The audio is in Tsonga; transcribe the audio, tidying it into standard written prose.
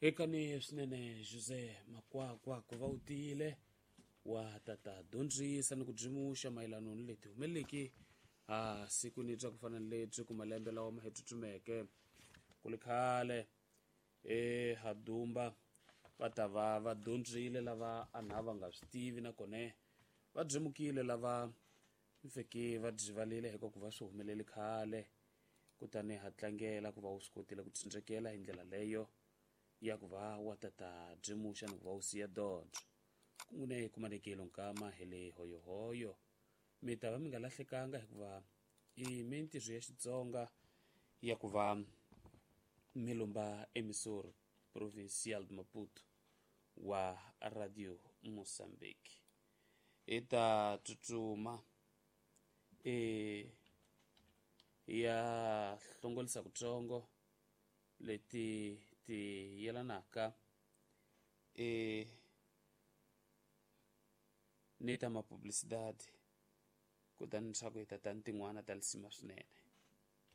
Hekani swinene Jose Makwakwa ku va u tiyile wa tata dyondzisa ni ku byimuxa mayelano ni leti humeleleki a sikwini bya ku fana ni lebyi ku malembe lawa ma hi tsutsumeke ku li khale e hadumba va ta va va dyondzile lava a na va nga swi tivi nakona va byemukile lava mfeke va byivalile hikuva ku va swi humelele khale. Kutani ha tlangela ku va u swi kotile ku tsindzekela hi ndlela leyo ya ku va wa tata byimuxa ni ku va u siya dyondzo kungune kumanekelo nkama hi le hoyohoyo. Mi ta va mi nga lahlekanga hikuva i mintirho ya Xitsonga ya ku va mi lumba emisoro provincial de Maputo wa Radio Mozambique. Hi ta tsutsuma e ya hlongolisa kutsongo leti ti yelanaka e ni ta mapublicidade kutani leswaku hi ta ta ni tin'wana ta lisima swinene.